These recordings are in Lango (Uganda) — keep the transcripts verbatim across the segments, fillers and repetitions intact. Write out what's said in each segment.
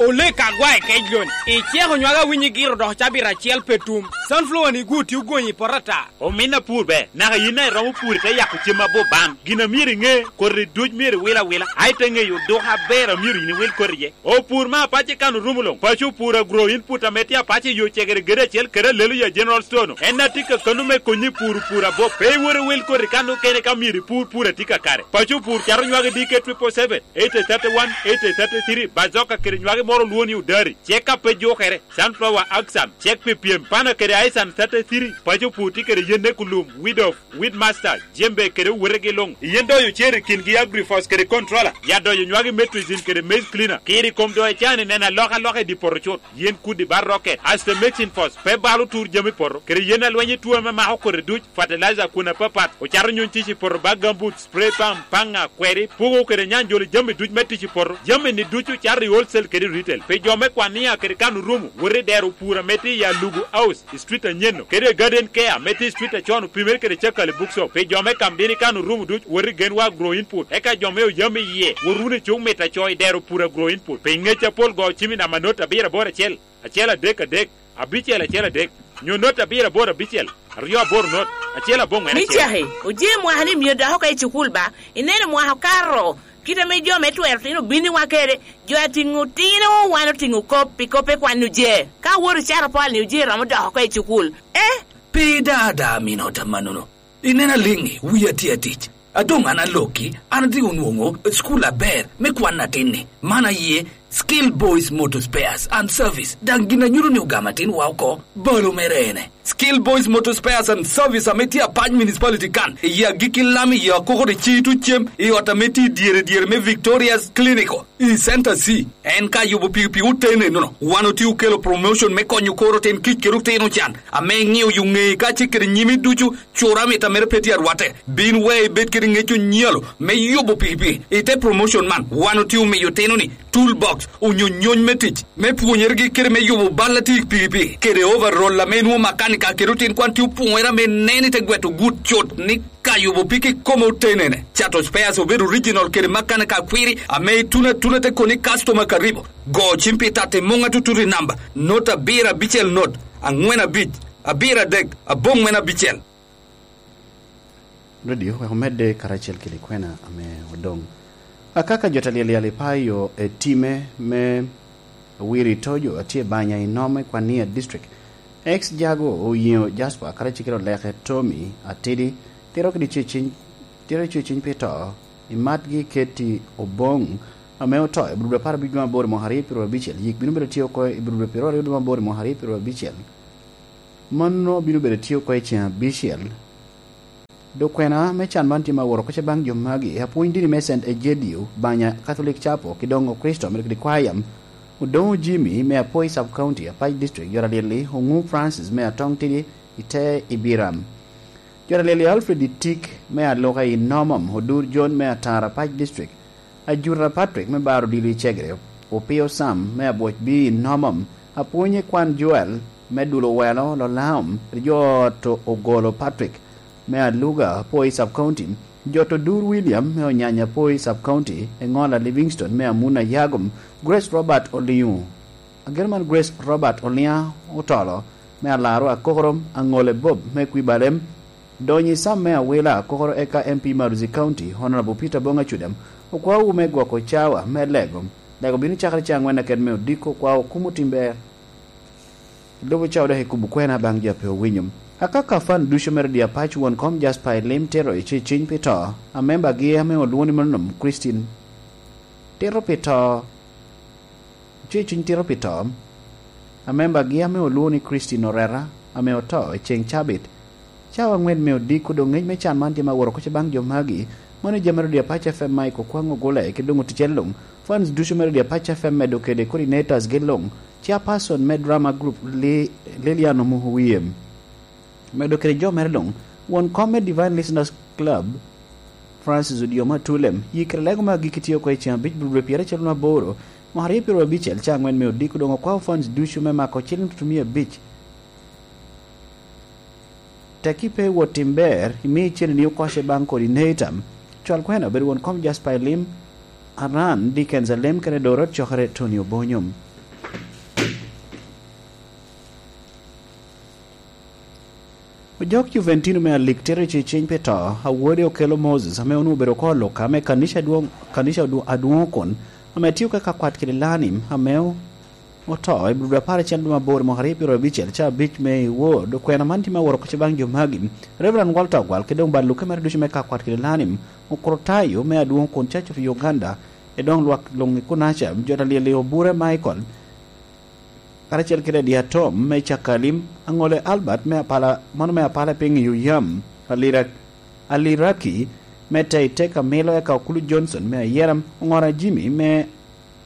Olek agwa i kec loni. Iceko nywage awinyo igiro dok cabit acel pe tum. Sunflower ni gwo tye ogonyi i poto ata. Omin apur ber, naka yin a iromo pur ite yako cem aboban. Gin a myero iŋe, koti duc myero iwil awila. A ite ŋeyo duk aber a myero yin iwil koti iye. Opur me apac i kan orumo luŋ. Paco opur agro input ame tye apac i yo cegere gede acel kede alelo ya General Store-nu. En a tye ka kano me konyi pur pur abop. Pe iwot iwil koti kan okene ka myero ipur pur a tye kakare. Paco opur cato nywage D K triple seven, eight thirty-one, eight thirty-three, bazoka kede nywage moro olwongo ni odari. Cek ka pe jukere, sunflower axan, cek pi pyem, pana kede aisan thirty-three, paco pur tye kede yen ekulum, weed of, weed master, jembe kede owotegi luŋ. Yen doyo cer i kingi agrifos kede controller, ya doyo nywagi metrizin kede maize cleaner, kiri kom doyo cani neno alokaloka i di poto cut. Yen kudi ba rocket, aste mixing force, pe balo tur jami poto, kede yen alweny i tuo ame mako kodi duc, fertilizer kun apapat, ocato nyuny tic i poto ba gambut, spray pump, paŋa, kweri, pugo kede nyanjolo jami duc me tic i poto. Jami ni ducu cato i wholesale kede retail. Pi jo me kwan nia kede kan orumo, wot i dero pur ame tye i Alugu House, i street anyeno, kede i Garden Care ame tye i street acon opimere kede cakal i Bookshop. Pi jo me kam dini kan orumo duc, wot i Genwa Agro Input. Eka jo me oyam i yie, wot wunu i cuk mit aco i dero pur Agro Input. Pi ngec apol go cim i namba not abiro aboro acel, acel adek adek, abicel acel adek, nyo not abiro aboro abicel, aryo aboro not, acel aboŋwen acel. Micaki, oje mwaka ni myero dok oko i cukul ba? Ineno mwaka okato, kit ame jo me twero tino obinniwa kede, jo atiŋo tino, wan otiŋo kop, pi kop pe kwan oje. Ka wot icato pol ni oje romo dok oko i cukul. Eh? Pe da da mino ta manono. Ineno aliŋi, wia tye atic. A doŋ an alokki, an rik onwoŋo cukul aber me kwan atin-ni. Man aye Skill Boys Motor Spares and Service, daŋ gin a nyuto ni ogamo atinwa oko, balo mere ene. Skill Boys Motor Spares and Service ame tye Apac Municipality kan, i agikki lam i Akoko de Citu Cem, i ot ame tye i dyere dyere me Victoria's Clinical, i Center C. En ka yubo pikipiki oten enono, wan otye okelo promotion me konyo kor otin kic kede otino can, ame iŋeo yo ŋeyi kacel kede nyimi ducu. Cura mit a mere pe tye arwatte, bin we ibed kede ŋec onyalo me yubo pikipiki. I te promotion man, wan otye omiyo otino-ni tool box onyo nyony me tic me pwonyergi kede me yubo bal a tye i pikipiki kede overall ame inwo makanika kede otin kwan tye opwonyere ame nen i te gweto gut cut ni ka yubo piki kome otenene. Cato spares obed original kede makanika akwiri ame ituno atuna te koni customer karibu. Go cim pi tatti muŋ atutut i namba not abiro abicel not aŋwen abic abiro adek aboŋwen abicel. Radio wek omedde karacel kede kwena ame odoŋ. Akaka jo ta lyelyal i payo e time me Wiri Tojo atye banya i Nome Kwania District. Ex Jago oyiŋo Jasper karacel kede oleke Tommy Atidi tito kede ceciny tito ceciny pi to i matgi Keti Oboŋ ame oto i Bududu apar abic dwe aboro mwaka aryo pyeraryo abicel. Yik bino bedo tye oko i Bududu pyeraryo dwe aboro mwaka aryo pyeraryo abicel. Mano bino bedo tye oko i ceŋ abicel. Dok kwena me can man tye ma woro koca baŋ jo magi, apwony dini me Saint Egidio, Banya Catholic Chapel, ki doŋ Okricito me Requiam, Odoŋo Jimmy me Apoi Sub County, Apac District, Jora Lyelli, Oŋu Francis me Atoŋ Tidi i te Ibiram. Jora Lyelli Alfred Itik me Aluka i Nomom, Odur John me Atara, Apac District, Ajuta Patrick me bar odilo i Cegere, Opio Sam me Abwoc B i Nomom, Apwonye Kwan Joel me Dulo Welo Lolaom, Rijoto Ogolo Patrick me Aluga Poi Sub County, Joto Dur William me Onyanya Poi Sub County, Engola Livingstone me Amuna Yagom, Grace Robert Oliu. Ageno man Grace Robert Oliŋa Otolo me Alaro Akokorom Aŋole Bob me Kwibalem, Donyi Sam me Awila Akokoro eka M P Maruzi County, Honorable Peter Bonga Cudem, okwawu me gwoko cawa me lego. Lego bino cakere ca angwen aket me odiko, okwawu kumo tim ber. Lubo cawa dok ikubo kwena baŋ jo pe owinyo. Akaka fan ducu mere di apac won kom Jasper Elim tito i ceciny pi to, amemba gi ame olwongo ni Monom Christine tito pi to. Cuciny tito pi to. Amembagi ame olwongo ni Christine Oreta ame oto i ceŋ cabit, cawa angwen me odiko doŋ ngec me can man tye ma woro koca baŋ jo magi. Mano jami arodi apac F M Mike Okwaŋ Ogule ki doŋ oticel luŋ. Fans ducu me rodi apac F M medo kede coordinators gi luŋ, chairperson me drama group Lilian Omuhu Wiyem. Medo kede jo mere luŋ, won kom me Divine Listeners Club, Francis Odiomo Atulem, yikere lego me agikki tye oko i ceŋ abic bur dwe pyeracel ma aboro, mwaka aryo pyeraryo abicel, ca angwen me odiko doŋ okwao fans ducu me mako ciliŋ tutumia abic. Teki pe wot tim ber, imi cene ni okoce baŋ kodi neita. Cwal kwena obedo won kom Jasper Elim, Aran, Dickens Alem kene Dorot cokere Tony Obonyo. Ojok Juventino me alik tito i ceceny pi to, awode okelo Moses, ame onwoŋo obedo oko Luka, ame kanica adwoŋ, kanica adwo-, adwoŋ kun, ame tio ka kakwat kede Lanim, ame o-, oto i Budo apar acel dwe mabor mwaka aryo pyero abicel, ca abic me i wod okwena man tye me aworo kocce baŋ jo magi. Reverend Walter Ogwal, kede doŋ bal luke mere ducu me kakwat kede Lanim, Okrutayo me adwoŋ kun Church of Uganda, e doŋ lwak luŋ i kunaca, jo ta lyel i Obure Michael, karacel kede Diatom me Cakalim, Aŋole Albert me Apala, mano me Apala piny i Oyam, Alira-, Aliraki me Teiteka Milo, eka Okulu Johnson me Ayeram, Oŋora Jimmy me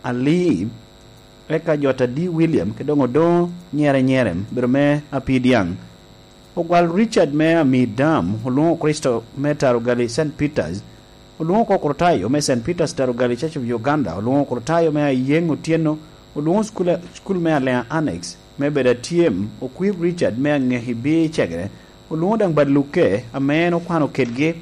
Ali, eka jo ta D William, kede doŋ Odoŋo Nyere Nyere, bedo me Apidiaŋ. Ogwal Richard me Amidam, olwoŋo Kricito me Tarugali Saint Peters, olwoŋo oko Okrutayo me Saint Peters Tarugali Church of Uganda, olwoŋo Okrutayo me Ayeŋ Otyeno, olwoŋo cukul, cukul me Alea Annex, me bedo atyem, Okwir Richard me Aŋeki Bii Cegere, olwoŋo daŋ bad lukke, ame en okwano kedgi,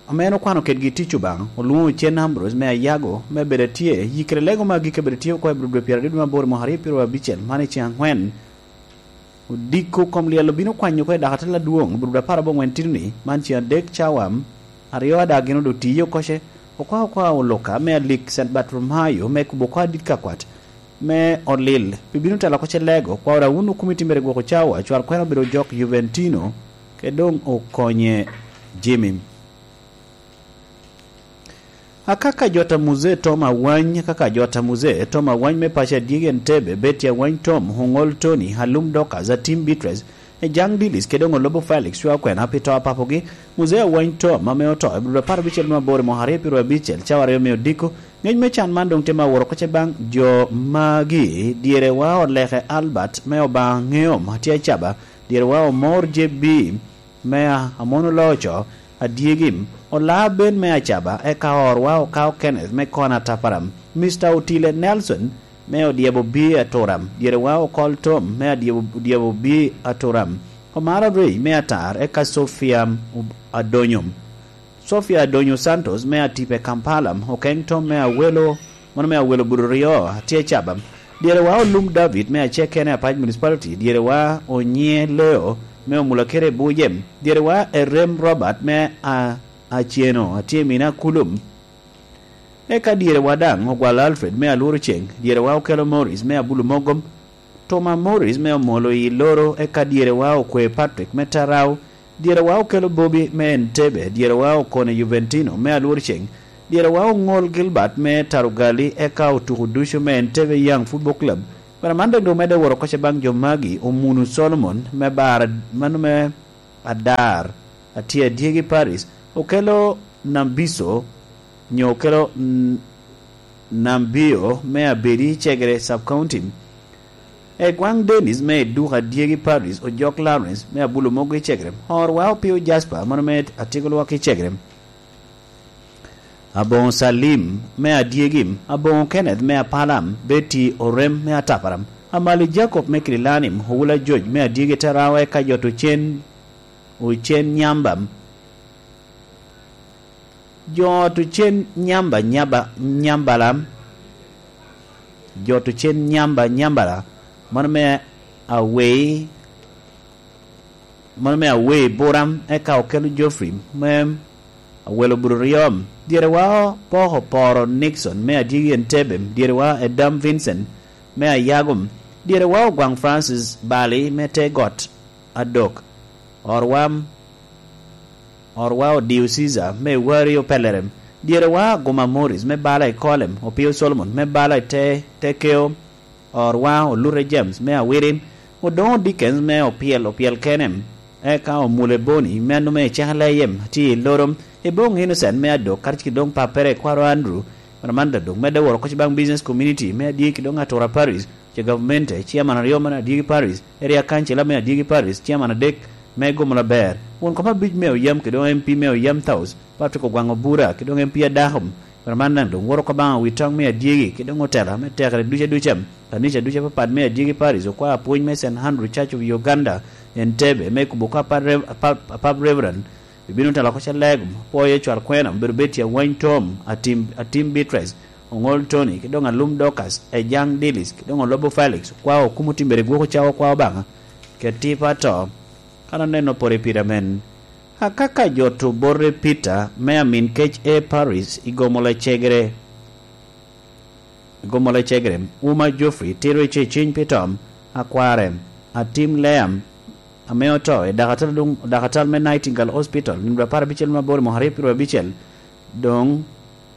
ame en okwano kedgi tic Obaŋa, olwoŋo Ocen Ambrose me Ayago, me bedo atye, yikere lego me agikki bedo tye oko i Budo dwe pyeraryo dwe mabor mwaka aryo pyero abicel, man i ceŋ aŋwen. Odiko kom lyel obino kwanyo oko i dakatel adwoŋ, Budo apar aboŋwen titoni, man ceŋ adek cawa, aryo ada gin odo tiyo koce, okwa okwa oluka me alik Saint Bartolomayo me kubo oko adit kakwat, me olil, pi bino telo oko ce lego, kwa ora wun okumi timbere gwoko cawa, cwar kwena obedo jok Juventino, ke doŋ okonye Jimmy. Akaka jot a Muzee Tom Awany, akaka jot a Muzee Tom Awany me paco adyegi Entebbe, Betty Awany Tom, Oŋol Tony, Alum Dorcas, Atim Beatrice, Ejaŋ Dilis, kede doŋ Olobo Felix, cwa kwena pi to a papogi, Muzee Awany Tom, ame oto i Budo apar abicel me aboro i mwaka aryo pyero abicel, cawa aryo me odiko, ŋec me can man doŋ tye me aworo oko ce baŋ jo magi, dyere wa Oleke Albert, me Obaŋa Ŋeom, atye acaba, dyere wa Omor J B, me a-, Amon Oloco, adyegi, Olaa Ben me Acaba, eka orwa Okao Kenneth me Kona Taparam, Mister Otile Nelson me Odyebo B Aturam, dyerewa Okol Tom me Adyebo, Odyebo B Aturam, Omara Ray me Atar, eka Sofia Adonyo. Sofia Adonyo Santos me Atipe Kampala, Okeng Tom me Awelo, mano me Awelo Budo Ryo, atye Acaba. Dyerewa Olum David me Acekene Apac Municipality, dyerewa Onyiŋe Leo me Omulakere Buje, dyerewa Erem Robert me a-, Aceno, atye Mina Kulum. Eka dyerewa daŋ Ogwal Alfred me Alworo Ceŋ, dyerewa Okelo Morris me Abulu Mogom, Toma Morris me Omolo i Loro, eka dyerewa Okwe Patrick me Tarau, dyerewa Okelo Bobi me Entebbe, dyerewa Okone Juventino me Alworo Ceŋ, dyerewa Oŋol Gilbert me Tarugali, eka otuko ducu me Entebbe Young Football Club. Bara man doŋ omedde woro oko ce baŋ jo magi, Omunu Solomon me Bar, mano me Adar, atye Adyegi Paris, Okelo Nambiso, nyo Okelo N-, Nambio me Abedi Cegere Sub-County, Egwaŋ Dennis me Eduka Adyegi Paris, Ojok Lawrence me Abulo Mogo i Cegere, Orwa Opio Jasper, mano me Atyego Lwak i Cegere, Aboŋo Salim me Adyegi, Aboŋo Kenneth me Apalam, Betty Orem me Ataparam, Amali Jacob me Kililanim, Owula George me Adyegi Tarawa, eka jo Tucen, Ocen Nyamba, jo Tucen Nyamba, Nyaba, Nyambala, jo Tucen Nyamba, Nyambala, mano me Awei, mano me Awei Buram, eka Okelo Geoffrey me Awelo Budo Ryom, dyerewa Poko Poro Nixon me Adyegi Entebbe, dyerewa Edam Vincent me Ayagum, dyerewa Ogwaŋ Francis Bali me Te Got Adok, Orwa, Orwa Odio Caesar me Wari Opelerem, dyerewa Aguma Morris me Bala i Kolem, Opio Solomon me Bala i Te, Te Keo, Orwa Olute James me Awirim, Odoŋo Dickens me Opyel, Opyel Kenem, eka Omule Boni me Anume Cekele Yem, tye i Loro, Eboŋo Innocent me Adok, karacel ki doŋ pappere Kwaro Andrew, Ramanda doŋ medde woro oko ce baŋ business community me Adyegi ki doŋ Atura Parish, ce gavmente, chairman aryo me Adyegi Parish, area councilor me Adyegi Parish, chairman adek me Gomola Ber, won kom abic me Oyam ki doŋ M P me Oyam South, Patrick Ogwaŋ Obura, ki doŋ M P Adako, Pero man daŋ doŋ woro oko baŋ awitoŋ me Adyegi, ki doŋ otela me tekere duca duca, kanica duca apapat me Adyegi Parish, okwa apwony me Saint Andrew Church of Uganda, Entebbe, me kubo oko apap Rev-, apap, apap Reverend, ibino telo oko ce lego, pwoyo cwal kwena, obedo Betty Awany Tom, Atim, Atim Beatrice, Oŋol Tony, ki doŋ Alum Dorcas, Ejaŋ Dilis, ki doŋ Olobo Felix, okwa okumo timbere gwoko cawa okwa Obaŋa. Keti pato, kan oneno pore pire amen. Akaka jo to borre Peter me amin kec e Paris i gomo lecegere. I gomo lecegere, Uma Geoffrey tiro i ceciny pi tom, akware, Atim Leam, ame oto i dakatal, dakatal me Nightingale Hospital, nino apar abicel me aboro mwaka aryo piru abicel. Doŋ,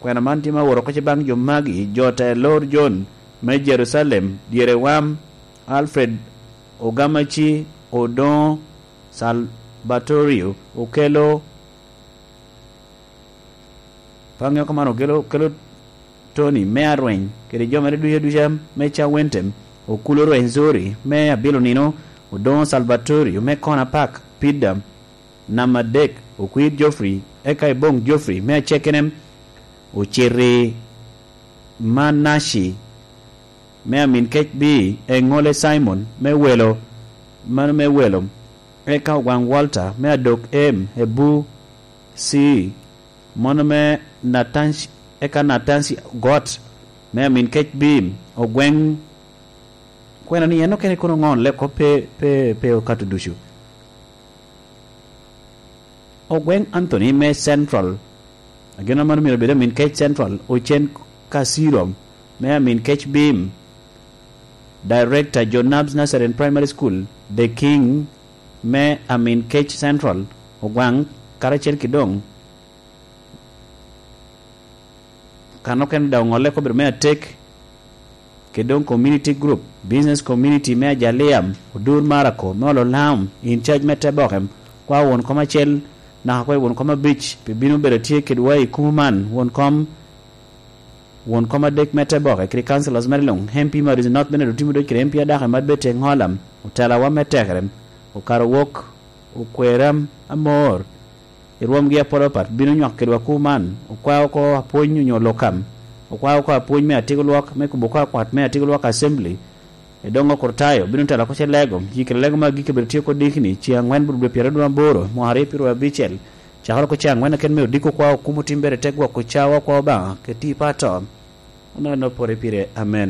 kwena man tye ma oworo oko baŋ jo magi, jo te lor Jon me Jerucalem, dyere wam, Alfred Ogamaci, Odoŋo, Salbatorio, okelo, paŋ oko man okelo, okelo Tony me arweny, kede jo mere ducu aduca me Cawentem, okulo rweny Zori me abilo nino, Odoŋo Salbatorio me Kona Park, Pida, namba adek, okwir Geoffrey, eka iboŋ Geoffrey me acekenem, ociti Manaci, me amin kec bi, eŋole Simon, me welo, mano me welo, eka ogwaŋ Walter, me adok em, ebu, si, mono me Natanci, eka Natanci got, me amin kec bi, ogweŋ, kwena ni en okene kono ŋo, leko pe, pe, pe okato ducu. Ogweŋ Anthony me Central, ageno mano myero obed amin kec Central, Ocen Kasiro me amin kec Bim, Director John Nabs Nursery and Primary School, The King me amin kec Central, Ogwaŋ, karacel ki doŋ kan okene daŋ oŋolle kobere me atek, kede doŋ community group, business community me Ajaliam, Odur Marako, me Ololam, in charge me Tebokem, kwa won kom acel, naka kwa won kom abic, pi bino bedo tye kedwa i kumo man, won kom, won kom adek me Teboke, kede councilors mere luŋ, M P Maris North bene otimo doc kede M P Adaka Mad Betty Eŋolam, otelawa me tekere, okato wok, okwerre amor, i rwomgi apol apat bino nywako kedwa kuman, okwao oko apwony onyo lokam, okwao oko apwony me atiko lwak, me kubo oko akwat me atiko lwak assembly, i doŋ okrutayo bino telo oko ce lego, yi kede lego me agikki bedo tye oko dikni, ce aŋwen bot dwe pyeraryo aboro, mwaka aryo pyeraryo abicel, cakere oko ce aŋwen aken me odiko okwao kum otim bere te gwoko cawa okwao Obaŋa, kede ti pa to. Oneno pore pire, amen.